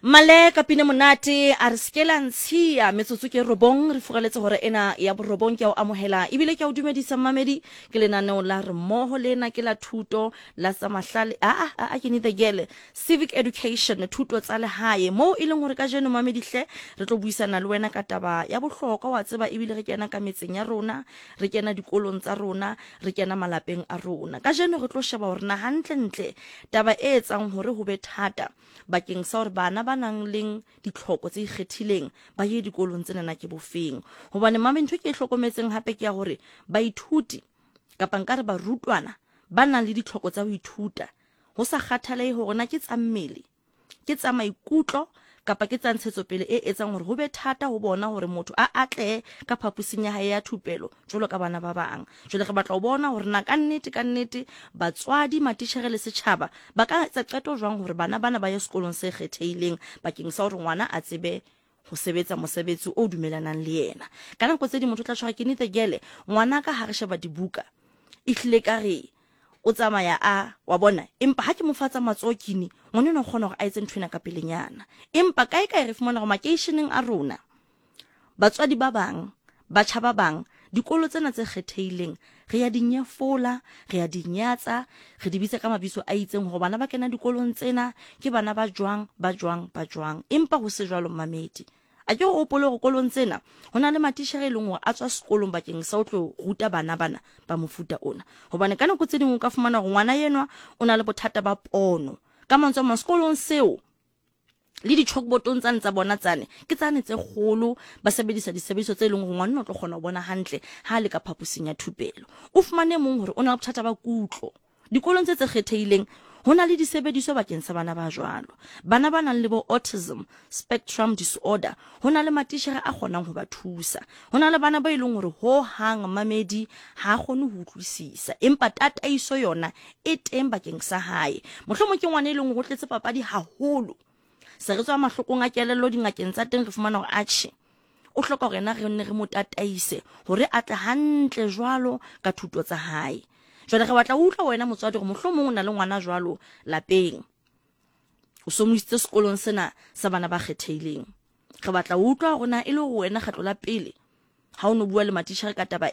Male ka pina monate a re seke la ntshiya. Metsotso ke robong re furaletse hore ena ya borobong. Ke a o amohela ebile ke a o dumedisa, mmamedi. Ke lenaneo la re mmoho lena, ke la thuto la tsa mahlale a a a ke neither gele civic education, thuto tsa lehae, moo e leng hore kajeno, mamedi hle, re tlo buisana le wena ka taba ya bohlokwa, wa tseba, ebile re kena ka metseng ya rona, re kena dikolong tsa rona, re kena malapeng a rona. Kajeno re tlo sheba hore na hantlentle taba e etsang hore ho be thata bakeng sa hore bana ba nang leng ditlhoko tse ikgethileng ba ye dikolong tsenana ke bofeng. Hobane mame, ntho ke e hlokometseng hape ke ya hore baithuti, kapa nka re barutwana ba nang le ditlhoko tsa ho ithuta, ho sa kgathalehe hore na ke tsa mmele, ke tsa maikutlo kapa ke tsa ntshetsopele, e etsang hore ho be thata ho bona hore motho a atlehe ka phaposing ya hae ya thupelo jwalo ka bana ba bang. Jwale re batla ho bona hore na ka nnete ka nnete batswadi, matitjhere le setjhaba ba ka etsa qeto jwang hore bana bana ba ye sekolong se kgethehileng bakeng sa hore ngwana a tsebe ho sebetsa mosebetsi o dumelanang le yena. Ka nako tse ding motho o tla tshwara ke nnete gele ngwana ka ha re sheba dibuka ehlile ka re o tsamaya a wa bona, empa ha ke mo fa tsa matsoho kini ngwana enwa o kgona hore a etse ntho ena ka pelenyana. Empa kae kae re fumana hore makeisheneng a rona, batswadi ba bang, batjha ba bang, dikolo tsena tse kgethehileng re ya di nyefola, re ya di nyatsa, re di bitsa ka mabitso a itseng hore bana ba kena dikolong tsena ke bana ba jwang, ba jwang, ba jwang. Empa ho se jwalo, mmamedi. A ke o hopole hore kolong tsena ho na le matitjhere e leng hore a tswa sekolong bakeng sa ho tlo ruta bana bana ba mofuta ona. Hobane ka nako tse ding o ka fumana hore ngwana enwa o na le bothata ba pono. Ka mantswe a mang, sekolong seo le di-chalkboardong tsane tsa bona tsane ke tsane tse kgolo, ba sebedisa disebediso tse leng hore ngwanna o tlo kgona ho bona hantle ha a le ka phaposing ya thupelo. O fumane mong hore o na le bothata ba kutlo. Dikolong tse tse kgethehileng ho na le disebediswa bakeng sa bana ba jwalo. Bana ba nang le bo autism spectrum disorder, ho na le matitjhere a kgonang ho ba thusa. Ho na le bana ba e leng hore ho hang mamedi ha a kgone ho utlwisisa, empa tataiso yona e teng bakeng sa hae. Mohlomong ke ngwana e leng hore o tletse papadi haholo. Se re tswa mahlokong a kelello dingakeng tsa teng, re fumana hore atjhe, o hloka hore yena re nne re mo tataise hore a tle hantle jwalo ka thuto tsa hae. Jwale re batla ho utlwa wena motswadi hore mohlomong o na le ngwana jwalo lapeng, o so mo isitse sekolong sena sa bana ba kgethehileng. Re batla ho utlwa hore na e le hore wena kgetlo la pele ha o no bua le matitjhere ka taba.